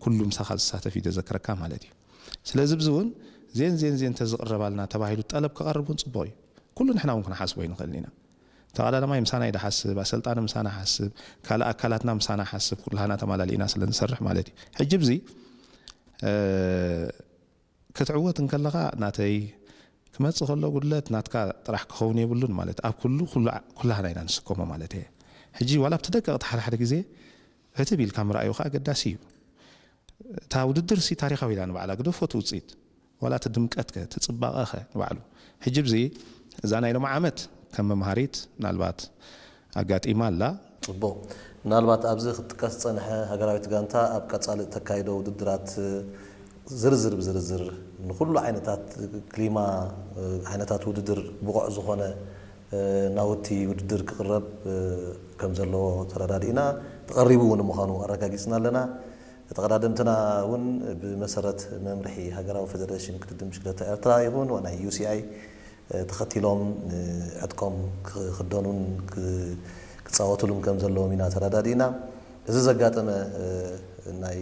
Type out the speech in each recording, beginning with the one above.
ኩሉ ምሳኻ ዝሳተፍ እዩ ዘዘክረካ ማለት እዩ። ስለዚ ብዚ እውን ዜን ዜን ዜን ተዝቕረባልና ተባሂሉ ጠለብ ክቐርብ እውን ፅቡቕ እዩ። ኩሉ ንሕና እውን ክንሓስቦ ይንኽእል ኢና። ተቐዳዳማይ ምሳና እዩ ዝሓስብ፣ ኣሰልጣኒ ምሳና ሓስብ፣ ካልእ ኣካላትና ምሳና ሓስብ፣ ኩላህና ተማላሊእና ስለ ንሰርሕ ማለት እዩ። ሕጂ ብዚ ክትዕወት እንከለኻ ናተይ ክመጽእ ከሎ ጉድለት ናትካ ጥራሕ ክኸውን የብሉን ማለት ኣብ ኩሉ ኩላህና ኢና ንስከሞ ማለት እየ። ሕጂ ዋላ ኣብቲ ደቀቕቲ ሓደ ሓደ ግዜ ዕትብ ኢልካ ምርኣዩ ከዓ ኣገዳሲ እዩ። እታ ውድድር ሲ ታሪኻዊ ኢላ ንባዕላ ግደፎ እቲ ውፅኢት ዋላ እቲ ድምቀት ከ እቲ ፅባቐ ከ ንባዕሉ። ሕጂ ብዚ እዛ ናይ ሎም ዓመት ከም መምሃሪት ምናልባት ኣጋጢማ ኣላ። ፅቡቕ። ምናልባት ኣብዚ ክጥቀስ ዝፀንሐ ሃገራዊት ጋንታ ኣብ ቀፃሊ እተካይዶ ውድድራት ዝርዝር ብዝርዝር ንኩሉ ዓይነታት ክሊማ ዓይነታት ውድድር ብቑዕ ዝኾነ ናውቲ ውድድር ክቕረብ ከም ዘለዎ ተረዳዲእና ተቐሪቡ እውን ምዃኑ ኣረጋጊፅና ኣለና። ተቐዳደምትና እውን ብመሰረት መምርሒ ሃገራዊ ፌደሬሽን ቅድድም ብሽክለታ ኤርትራ ይኹን ናይ ዩ ሲ ኣይ ተኸቲሎም ዕጥቆም ክኽደኑን ክፃወትሉን ከም ዘለዎም ኢና ተረዳዲእና። እዚ ዘጋጠመ ናይ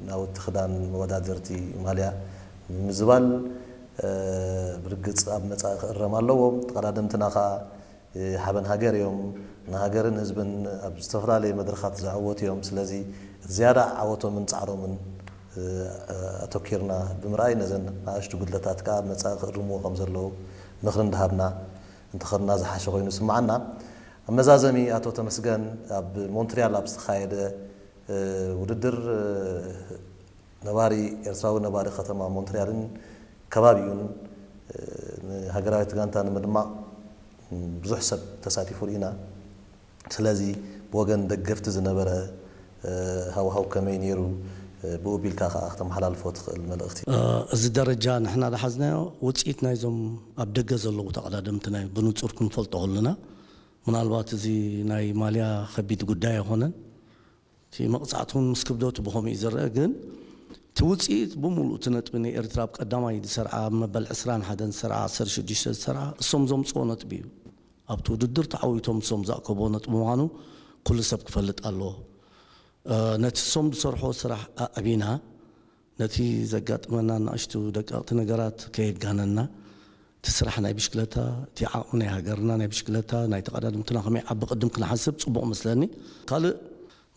ናውቲ ክዳን መወዳደርቲ ማልያ ምምዝባል ብርግፅ ኣብ መፃኢ ክእረም ኣለዎም። ተቐዳደምትና ከዓ ሓበን ሃገር እዮም። ንሃገርን ህዝብን ኣብ ዝተፈላለየ መድረኻት ዘዐወቱ እዮም። ስለዚ እቲ ዝያዳ ዓወቶምን ፃዕሮምን ኣተኪርና ብምርኣይ ነዘን ንኣሽቱ ጉድለታት ከዓ መፃኢ ክእርምዎ ከም ዘለዉ ምኽሪ እንዳሃብና እንተኸድና ዝሓሸ ኮይኑ ይስምዓና። ኣብ መዛዘሚ ኣቶ ተመስገን ኣብ ሞንትሪያል ኣብ ዝተኻየደ ውድድር ነባሪ ኤርትራዊ ነባሪ ከተማ ሞንትሪያልን ከባቢኡን ንሃገራዊት ጋንታ ንምድማቕ ብዙሕ ሰብ ተሳቲፉ ርኢና። ስለዚ ብወገን ደገፍቲ ዝነበረ ሃውሃው ከመይ ነይሩ? ብኡ ቢልካ ከዓ ክተመሓላልፎ ትኽእል መልእኽቲ። እዚ ደረጃ ንሕና ዝሓዝናዮ ውፅኢት ናይዞም ኣብ ደገ ዘለዉ ተቐዳደምትና እዩ ብንፁር ክንፈልጦ ከለና። ምናልባት እዚ ናይ ማልያ ከቢድ ጉዳይ ኣይኮነን። እቲ መቕፃዕቲ እውን ምስ ክብደቱ ብኸምኡ እዩ ዝረአ። ግን እቲ ውፅኢት ብምሉእ እቲ ነጥቢ ንኤርትራ ኣብ ቀዳማይ ዝሰርዓ ኣብ መበል ዕስራን ሓደን ዝሰርዓ ዓሰርተ ሽዱሽተ ዝሰርዓ እሶም ዘምፅኦ ነጥቢ እዩ። ኣብቲ ውድድር ተዓዊቶም እሶም ዘእከብዎ ነጥቢ ምዃኑ ኩሉ ሰብ ክፈልጥ ኣለዎ። ነቲ እሶም ዝሰርሖ ስራሕ ኣዕቢና ነቲ ዘጋጥመና ንኣሽቱ ደቀቕቲ ነገራት ከየጋነና እቲ ስራሕ ናይ ብሽክለታ እቲ ዓቕሚ ናይ ሃገርና ናይ ብሽክለታ ናይ ተቐዳድምትና ከመይ ዓቢ ቅድም ክንሓስብ ጽቡቕ መስለኒ። ካልእ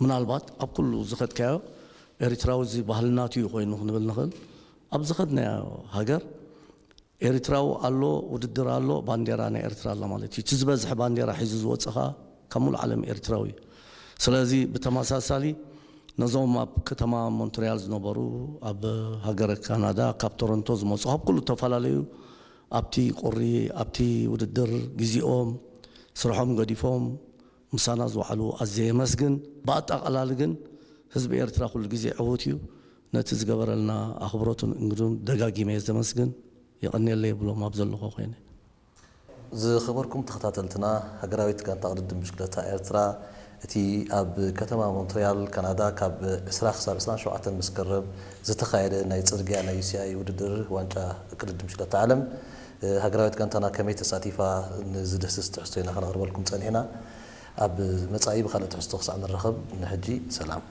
ምናልባት ኣብ ኩሉ ዝኸድካዮ ኤርትራዊ እዚ ባህልናቱ እዩ ኮይኑ ክንብል ንኽእል። ኣብ ዝኸድናዮ ሃገር ኤርትራዊ ኣሎ፣ ውድድር ኣሎ፣ ባንዴራ ናይ ኤርትራ ኣላ ማለት እዩ። እቲ ዝበዝሐ ባንዴራ ሒዙ ዝወጽእ ኸኣ ካብ ሙሉእ ዓለም ኤርትራዊ እዩ። ስለዚ ብተመሳሳሊ ነዞም ኣብ ከተማ ሞንትሪያል ዝነበሩ፣ ኣብ ሃገረ ካናዳ ካብ ቶሮንቶ ዝመጹ፣ ካብ ኩሉ ዝተፈላለዩ ኣብቲ ቁሪ ኣብቲ ውድድር ግዜኦም ስርሖም ገዲፎም ምሳና ዝወዓሉ ኣዝየ የመስግን። ብኣጠቓላሊ ግን ህዝቢ ኤርትራ ኩሉ ግዜ ዕዉት እዩ። ነቲ ዝገበረልና ኣኽብሮቱን እንግዱን ደጋጊመ እየ ዘመስግን። የቐንየለይ የብሎም ኣብ ዘለኹ ኮይነ። ዝኸበርኩም ተኸታተልትና፣ ሃገራዊት ጋንታ ቅድድም ብሽክለታ ኤርትራ እቲ ኣብ ከተማ ሞንትሪያል ካናዳ ካብ ዕስራ ክሳብ ዕስራን ሸውዓተን መስከረም ዝተኻየደ ናይ ጽርግያ ናይ ዩ ሲ ኣይ ውድድር ዋንጫ ቅድድም ብሽክለታ ዓለም ሃገራዊት ጋንታና ከመይ ተሳቲፋ ንዝድህስስ ትሕዝቶ ኢና ከነቕርበልኩም ጸኒሕና። ኣብ መጻኢ ብኻልእ ትሕዝቶ ክሳዕ ንራኸብ ንሕጂ ሰላም።